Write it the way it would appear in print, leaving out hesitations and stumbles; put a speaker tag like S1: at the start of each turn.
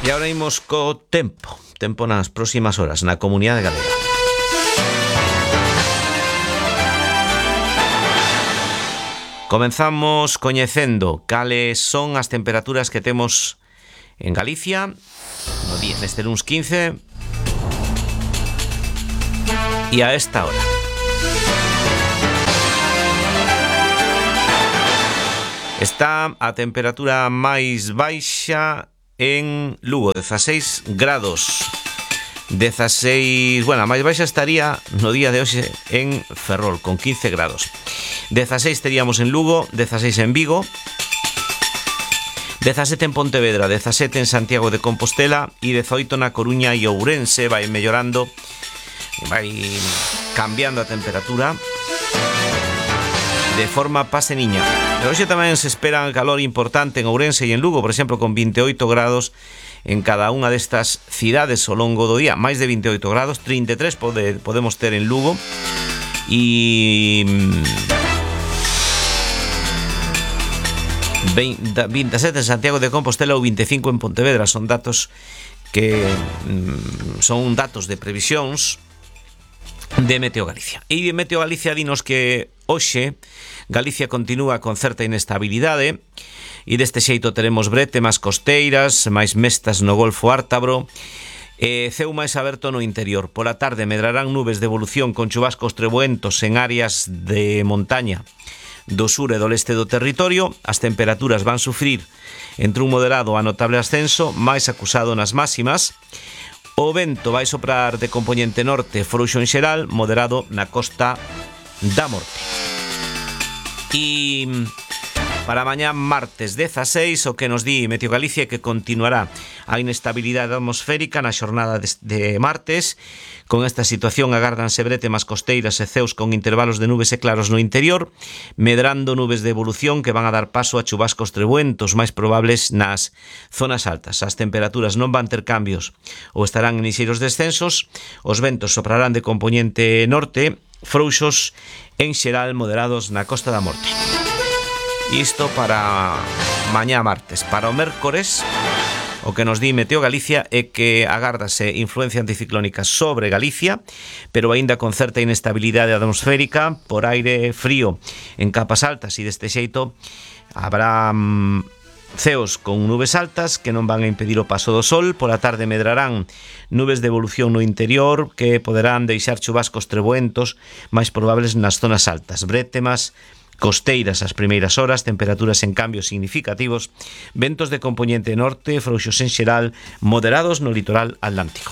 S1: E agora imos co tempo nas próximas horas na Comunidade Galega. Comenzamos coñecendo cales son as temperaturas que temos en Galicia no día neste luns 15 e a esta hora. Está a temperatura máis baixa en Lugo, 16 grados. 16, bueno, a máis baixa estaría no día de hoxe en Ferrol, con 15 grados. 16 teríamos en Lugo, 16 en Vigo, 17 en Pontevedra, 17 en Santiago de Compostela e 18 na Coruña e Ourense. Vai mellorando, vai cambiando a temperatura de forma paseniña. Pero hoxe tamén se espera calor importante en Ourense e en Lugo, por exemplo, con 28 grados en cada unha destas cidades ao longo do día. Máis de 28 grados, 33 podemos ter en Lugo e 27 en Santiago de Compostela ou 25 en Pontevedra. Son datos que son datos de previsións de Meteo Galicia. E de Meteo Galicia dinos que hoxe Galicia continúa con certa inestabilidade e deste xeito teremos brétemas costeiras, máis mestas no Golfo Ártabro, ceu máis aberto no interior. Pola tarde medrarán nubes de evolución con chubascos trebuentos en áreas de montaña do sur e do leste do territorio. As temperaturas van sufrir entre un moderado a notable ascenso, máis acusado nas máximas. O vento vai soprar de compoñente norte, frouxo en xeral, moderado na Costa da Morte. E para mañá martes 16, o que nos di Meteo Galicia é que continuará a inestabilidade atmosférica na xornada de martes. Con esta situación agárdanse brétemas costeiras e ceus con intervalos de nubes e claros no interior, medrando nubes de evolución que van a dar paso a chubascos trebuentos máis probables nas zonas altas. As temperaturas non van ter cambios ou estarán en lixeiros descensos. Os ventos soprarán de compoñente norte, frouxos en xeral, moderados na Costa da Morte. Isto para mañá martes. Para o mércores, o que nos di Meteo Galicia é que agárdase influencia anticiclónica sobre Galicia, pero aínda con certa inestabilidade atmosférica por aire frío en capas altas, e deste xeito habrá ceos con nubes altas que non van a impedir o paso do sol. Pola tarde medrarán nubes de evolución no interior que poderán deixar chubascos trebuentos máis probables nas zonas altas, brétemas costeiras as primeiras horas, temperaturas en cambios significativos, ventos de compoñente norte, frouxos en xeral, moderados no litoral atlántico.